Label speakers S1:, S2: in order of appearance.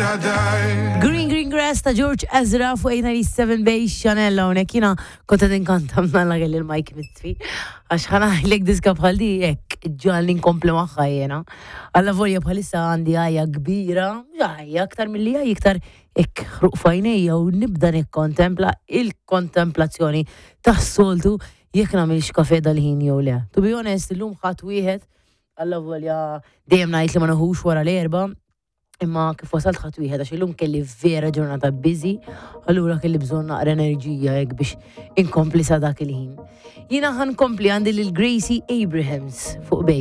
S1: I die.
S2: Green Green Grass ta' George Ezra fuq 897 Bay Chanel hawnhekk jiena kont qed inkanta mnalla kelli l-mic mitfi għax ħa ngħidlek diska bħal di hekk ġalli nkompli magħha jiena. Alla volja bħalissa għandi għajja kbira, għajja aktar milli għajja iktar hekk ħruq f'għajnejja u nibda nikkontempla il-kontemplazzjoni tas-soltu jekk nagħmilx kafe dal-ħin jew le. To be honest, illum ħadd wieħed alla volja dejjem ngħid li ma neħux wara l-erba, imma kif wasalt ħadd wieħed għax illum kelli vera ġurnata busy, allura kelli bżonn naqra enerġija hekk biex inkompli sa dak il-ħin. Jiena ħa nkompli għandi lil Gracie Abrahams fuq Bay.